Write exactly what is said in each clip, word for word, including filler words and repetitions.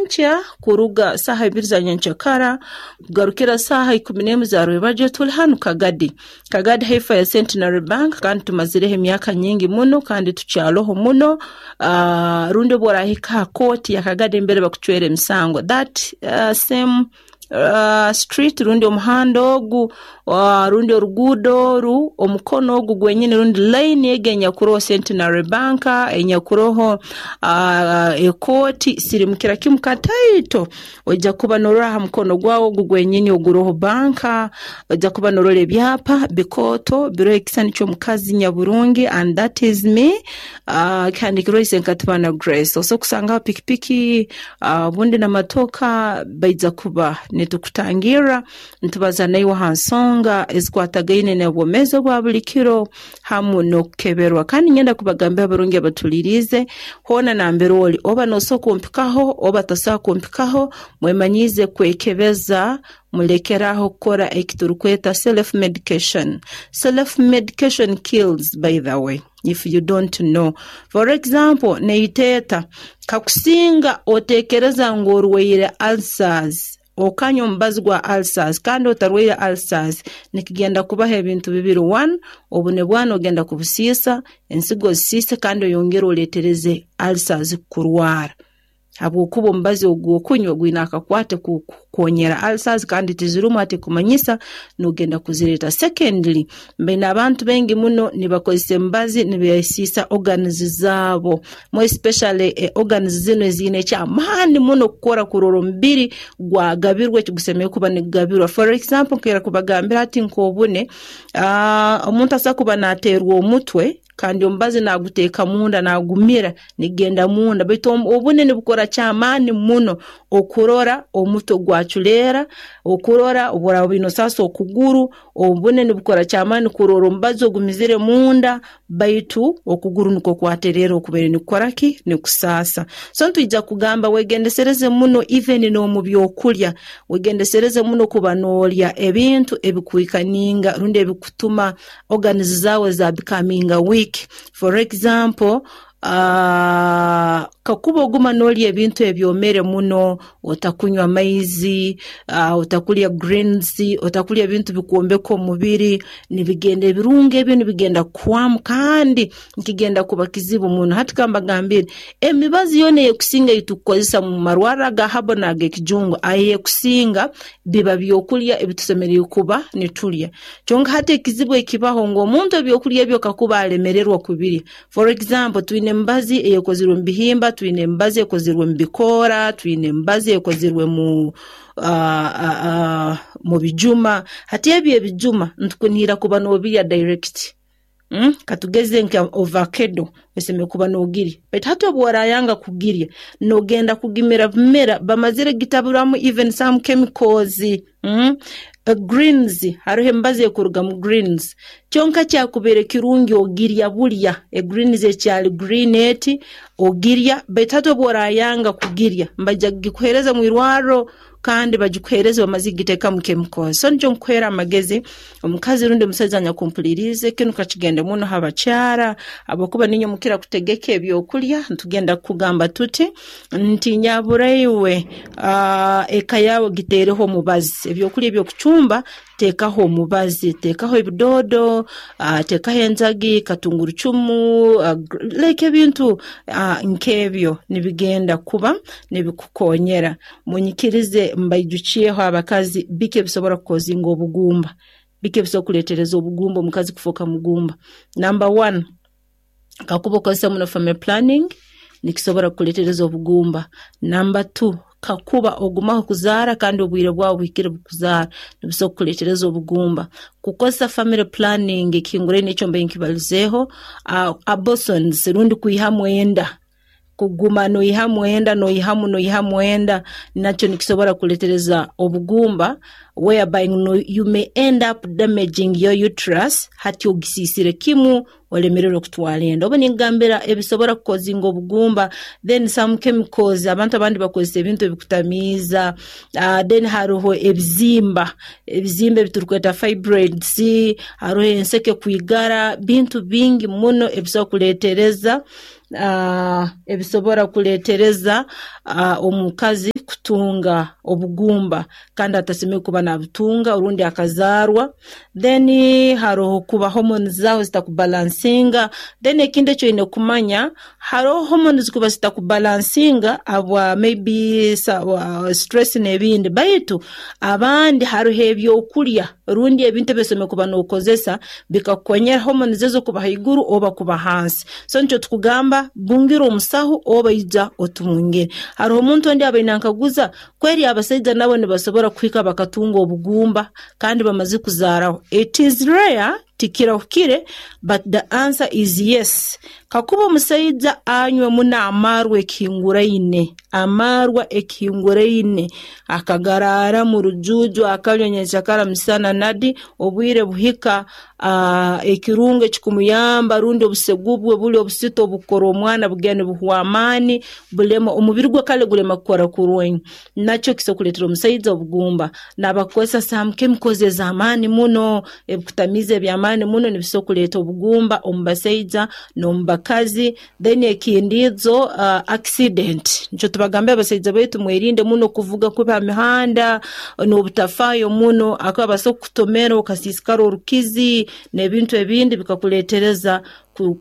Nyenkya kuruga saaha ibiri za nyenkyakara kugarukira saaha ikumi n'emu za rwebagyo, tuli hanu Kagadi, Kagadi haifa ya Centenary Bank, kandi tumazireho emyaka nyingi muno kandi tukyaloho muno. uh, rundi obu orahika ha kooti ya Kagadi mbere bakucwera emisango, that uh, same uh, street rundi omuhanda ogu, uh, rundi oruguudo oru, omukono ogu gwenyini rundi line egi enyakuroho Centenary Bank, enyakuroho uh, ekooti, sirimukira kimu kataito, ojja kuba norora ha mukono gwawe ogu gwenyini oguroho banka, ojja kuba norora ebyapa bikooto biroho ekisani ky'omukazi nyaburungi, and that is me, uh, kihandikirweho Isenkatibana Grace. Osobola kusangaho pikipiki, uh, obundi n'amatoka. Baija kuba nitukutangirra, nitubaza naiwe ha nsonga ezikwatagaine n'obwomeezi obwa buli kiro hamu n'okukeberwa. Kandi ngenda kubagambira abarungi abatuliriize, hoona nambere oli, oba noosobola kumpikaho oba tosobola kumpikaho, mwemanyiize kwekebeza, mulekeraho kukora ekiturukweta self medication. Self medication kills, by the way, if you don't know. For example, neiteeta kakusinga otekereza ngu orwaire ulcers, okanywa omubazi gwa ulcers kandi otarwaire ulcers, nikigenda kubaho ebintu bibiri. One, obune bwana ogenda kubusiisa, ensigo ozisiise, kandi oyongere oletereze ulcers kurwara, habwokuba omubazi ogu okunywa gwine akakwate kukonyera ulcers kandi tizirumu, ati kumanyisa nogenda kuzireeta. Secondly, mbaine abantu baingi muno nibakozesa emibazi nibesiisa organs zaabo, more especially eh, organs zino eziine ekyamaani muno kukora kurora omubiri gwagabirwa ekigusemeriire kuba nigugabirwa. For example, nkera kubagambira ati nk'obune, uh, omuntu asobola kuba nateerwa omutwe kandi omubazi naguteeka munda, nagumira, nigenda munda, baitu obune nibukora kyamaani muno okurora omutwe gwaculeera, okurora obworaaba oine osasa okuguru, obune nibukora kyamaani kurora omubazi ogumizire munda, baitu okuguru nikwo kwatereera okubaire nikukora ki, nikusaasa. So nitwija kugamba wegendesereze muno, even n'omu byokulya, wegendesereze muno kuba noolya ebintu ebikuikaninga rundi ebikutuma organs zaawe za becoming weak. For example, uh, kakuba oguma noolya ebintu ebyomere muno, otakunywa amaizi, uh, otakulya greens, otakulya ebintu bikwombeka omubiri, nibigenda ebirungo ebyo nibigenda kuhwamu kandi nikigenda kuba kizibu muno. Hati kambagambire, emibazi yoona eyekusinga eyitukukozesa mu marwarro aga herbal n'ag'ekijungu, ayekusinga biba byokulya ebitusemeriire kuba nitulya. Kyonka hati ekizibu ekibaho ngu omuntu ebyokulya ebyo kakuba alemererwa kubirya. For example, twine emibazi eyekozirwe mu bihimba, twine emibazi ekozirwe mu bikoora, twine emibazi ekozirwe mu uh, uh, uh, mu bijuma. Hati ebyo ebijuma ntukunihira kuba noobirya direct. Mm? Katugeze nka avocado, osemeriire kuba noogirya, baitu hati obu orayanga kugirya, nogenda kugimira bumera bamazire gitaburamu even some chemicals. mm? Uh, greens hariho emibazi ekuruga mu greens, kyonka kyakubaire kirungi ogirya bulya egreens ekyali green eti ogirya, baitu hati obu orayanga kugirya, mbaija kugikuheereza mu irwarro kandi bagikuheereze bamaze kugiteekamu chemicals. So nikyo nkukuheera amagezi, omukazi rundi omusaija anyakumpuliriize, kinu kakigende muno ha bakyara, habwokuba niinywe mukira kutegeka ebyokulya. Ntugenda kukugamba tuti nti nyaburaiwe, uh, eka yawe giteereho omubazi, ebyokulya ebyokucumba teekaho omubazi, teekaho ebidoodo, uh, teekaho enjagi, katungurucumu, uh, like ebintu uh, nk'ebyo nibigenda kuba nibikukonyera. Munyikirize mbaijukyeho abakazi biki ebisobora kukozinga obugumba, biki ebisobora kuleetereza obugumba, omukazi kufooka mugumba. Number one, kakuba okozesa muno family planning, nikisobora kukuleetereza obugumba. Number two, kakuba ogumaho kuzaara kandi obwire bwawe buhikire bukuzaara, nibisobora kukuleetereza obugumba. Kukozesa family planning ekihinguraine ekyo mbaire nkibalizeeho, uh, abortions rundi kwihamu enda, kuguma noihamu enda, noihamu noihamu enda, nakyo nikisobora kuleetereza obugumba, whereby no, you may end up damaging your uterus, hati ogisiisire kimu olemererwe kutwara enda. Obu ningambira ebisobora kukozinga obugumba, then some chemicals, abantu abandi bakozesa ebintu ebikutamiiza, uh, then hariho ebizimba, ebizimba ebiturukweta fibroids, hariho enseke kwigara, bintu bingi muno ebisobora kuleetereza uh, ebisobora kuleetereza uh, omukazi. kutunga obugumba kandi atasemeriire kuba nabutunga orundi akazaarwa. Then haroho kuba hormones zawe zitakubalansinga. Then ekindi eki oine kumanya, haroho hormones kuba zitakubalansinga habwa maybe stress n'ebindi, baitu abandi haroho ebyokulya rundi ebintu ebi osemeriire kuba nookozesa bikakukonyera hormones ezo kuba haiguru oba kuba hansi. So nikyo tukugamba bungira omusaho oba ija otubungire. Haroho omuntu ondi abaire nankaguza kweri abasaija nabo nibasobora kuhika bakatunga obugumba kandi bamaze kuzaaraho. It is rare, tikirahukire, but the answer is yes. Kakuba omusaija anywa muno amarwa ekihinguraine, amarwa ekihinguraine, akagaraara mu rujuuju, akanywa nyenkyakara, misana nadi, obwire buhika uh, ekirungo ekikumuyamba rundi obusegu bwe buli obusito obukukora omwana bugenda nibuhwa amaani, bulema omubiri gwe kale gulema kukora kurungi. Nakyo kisobola kuleetera omusaija obugumba. N'abakukozesa some chemicals ez'amaani muno, ebikutamiiza eby'amaani muno nibisobola kuleeta obugumba omu basaija n'omu bakazi. Then ekindiizo uh, accident. Nikyo tubagambira abasaija baitu mwerinde muno kuvuga kubi ha mihanda n'obutafaayo muno, akuba basobola kukutomera okasiisikara orukizi n'ebintu ebindi bikakuleetereza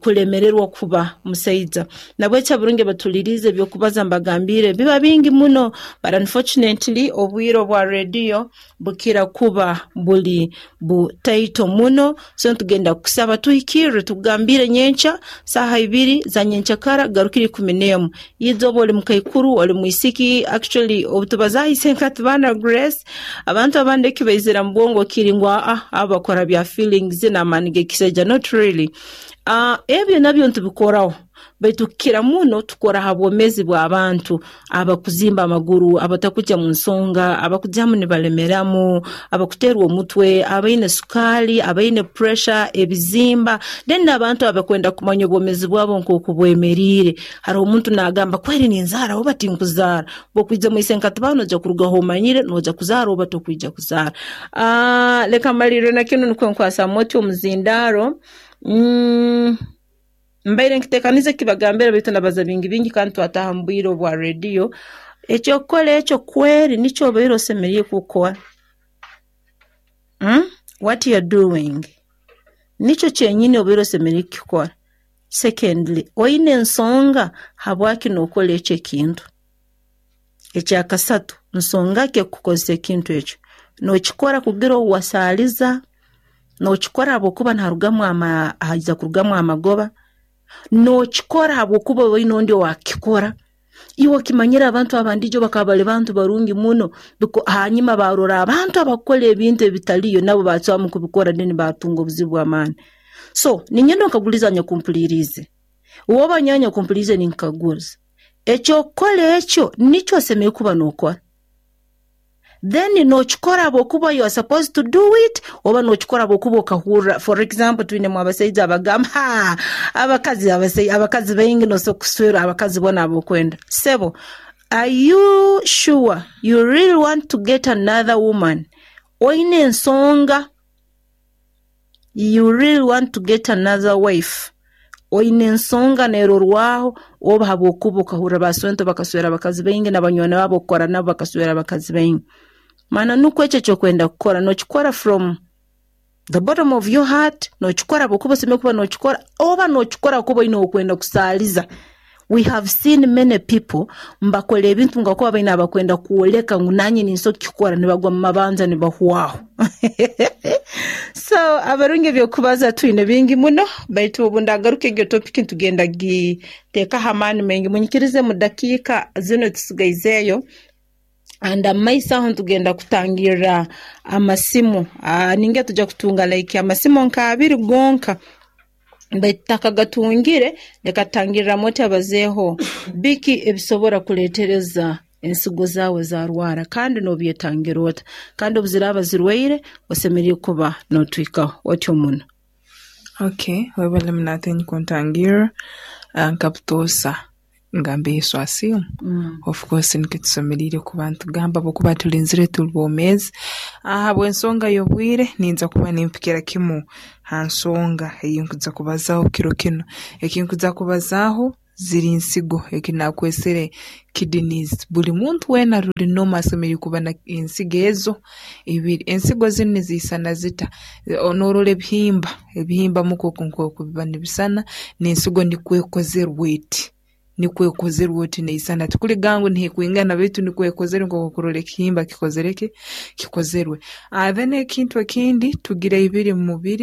kulemererwa kuba musaija. Nabwekyo abarungi batulirize ebyokubaza mbagambire biba bingi muno, but unfortunately obwire obwa rediyo bukira kuba buli butaito muno. So ntugenda kusaba tuhikirre tugambire nyenkya saaha ibiri za nyenkyakara garukire ikumi n'emu. Yiza oba oli mukaikuru, oli mwisiki, actually obu tubazaahise nka tubaana Grace, abantu abandi ekibaizira mu bwongo kiri ngu aa abo bakora bya feelings n'amaani g'ekisaija. Not really. Uh, ebyo nabyo ntubikoraho, baitu kukira muno tukora ha bwomeezi bw'abantu abakuzimba amaguru, abatakujya mu nsonga, abakujyamu nibalemeramu, abakuteerwa omutwe, abaine sukaali, abaine pressure, ebizimba, then n'abantu abakwenda kumanya obwomeezi bwabo nk'oku bwemeriire. Haroho omuntu naagamba kweri ninzaara oba tinkuzaara. Bw'okwija mu isenkatibano noija kurugaho omanyire noija kuzaara oba tokwija kuzaara. Uh, leka mmalirre na kinu nukwo nkwasa moti omuzindaaro. Mm, mbaire nkiteekaniza kibagambira baitu nabaza bingi bingi kandi twataaha mu bwire obwa rediyo. Ekyokukora ekyo kweri nikyo obaire osemeriire kukora. Mm? What you're doing nikyo kyenyini obaire osemeriire kukikora. Secondly, oine ensonga habwaki nookora ekyo ekintu. Ekyakasatu, nsonga ki ekukukozesa ekintu ekyo? Nookikora kugira ou wasaaliza, nookikora habwokuba niharugamu ama haija kurugamu amagoba, nookikora habwokuba oine ondi owaakukikora. Iwe okimanyire abantu abandi ijo bakaba bali bantu barungi muno, hanyuma barora abantu abakukora ebintu ebitaliyo nabo bacwamu kubikora then batunga obuzibu bw'amaani. So ninyenda onkagulize anyakumpuliriize, woba nyowe anyakumpuliriize ninkukaguza, ekyokukora ekyo nikyo osemeriire kuba nookora? Then nookikora habwokuba you are supposed to do it oba nookikora habwokuba okahurra. For example, twinemu abasaija abagamba ha abakazi abakazi baingi nosobola kuswera abakazi boona abokwenda. Sebo, are you sure you really want to get another woman? Oine ensonga, you really want to get another wife? Oine ensonga neerorwaho oba habwokuba okahurra baswento bakaswera abakazi baingi n'abanywani baabo okukora nabo bakaswera abakazi baingi. Maana nukwo ekyo ekyokwenda kukora nookikora from the bottom of your heart, nookikora habwokuba osemeriire kuba nookikora oba nookikora habwokuba oine okwenda kusaaliza. We have seen many people mbakora ebintu ngakuba baine abakwenda kwoleka ngu nanye ninsobola kukikora, nibagwa mu mabanja nibahwaho. So abarungi ebyokubaza twine bingi muno, baitu obu ndagaruka egyo topic ntugenda giteekaho amaani maingi. Munyikirize mu dakiika zinu tusigaizeeyo and amaiso aho ntugenda kutangirra amasimu. Uh, ninga tujja kutunga like amasimu nka abiri gonka, baitu tutakagatungire leka tutangirramu oti abazeeho biki ebisobora kuleetereza ensigo zaawe zarwara kandi n'obyetangira ota, kandi obu ziraaba zirwaire osemeriire kuba nootwikaho otyo muno. Okay, webale muno kuntangirra. Nka butoosa ngamba Yesu asiimwe. Mm. Of course nikyo tusemeriire kuba nitugamba habwokuba tulinzire tuli boomeezi. Habw'ensonga y'obwire ninza kuba nimpikira kimu ha nsonga ei nkuza kubazaaho kiro kinu. Eki nkuza kubazaaho Ziri nsigo, eki naakwesere kidneys. Buli muntu weena aruli normal asemeriire kuba n'ensigo ezo ibiri. Ensigo zinu niziisana zita? Noorora ebihimba, ebihimba muka oku nkooku biba nibisana, n'ensigo nikwo ekozerwe eti, nikwo ekozerwe eti neisana, tikuliga ngu neekwingana baitu nikwo ekozerwe nkooku okurora ekihimba kikozere ki, kikozerwe. Then ekintu ekindi, tugira ibiri mu mubiri.